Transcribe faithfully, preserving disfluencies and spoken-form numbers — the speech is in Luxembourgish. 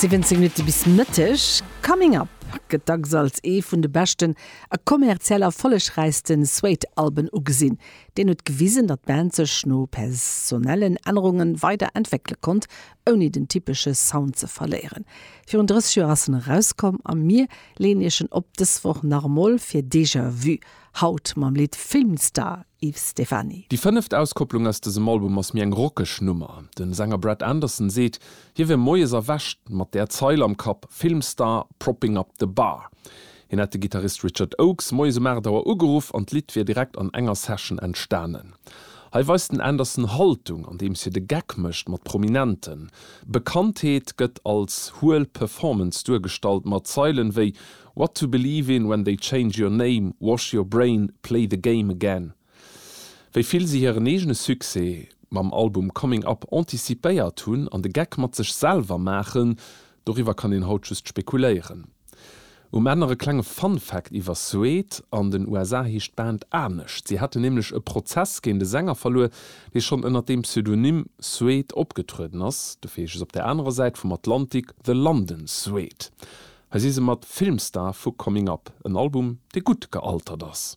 Siwwenzéng Minutte bis Mëtteg. Coming Up gëtt dacks als ee vun de beschten a kommerziell erfollegräichste Suede-Alben ugesinn. Deen huet gewisen, datt d'Band sech no personellen Ännerunge weider entwéckele konnt, ouni den typesche Sound ze verléieren. Virun drësseg Joer ass en erauskomm a mir leeën iech en op dës Woch nach emol fir Déjà Vu, haut mam Lidd Filmstar, Yves Stephany. Déi fënneft Auskopplung aus dësem Album ass méi eng rockeg Nummer. De Sänger Brett Anderson seet, hie wier moies erwächt mat där Zeil am Kapp, Filmstar propping up the bar. Hien hätt de Gittarist Richard Oakes moies um aacht Auer ugeruff an d'Lidd wier direkt an enger Session entstanen. Hei weist den Anderson Haltung, andeems hie de Geck mécht mat Prominenten. Bekanntheet gëtt als huel Performance duergestallt mat Zeilen wéi What to believe in when they change your name, wash your brain, play the game again. Wéi vill si hiren eegene Succès mam Album Coming Up anticipéiert hunn an de Geck mat sech selwer maachen, doriwwer kann een haut just spekuléieren. Um Enn nach e klenge Fun Fact iwwer Suede, An den U S A heescht d'Band anescht. Si haten nämlech e Prozess géint de Sänger verluer, dee schonn ënner dem Pseudonym Suede opgetrueden ass. Dofir heescht se op der anerer Säit vum Atlantik The London Suede. Hei si se mat Filmstar vu Coming Up, en Album, dee gutt gealtert ass.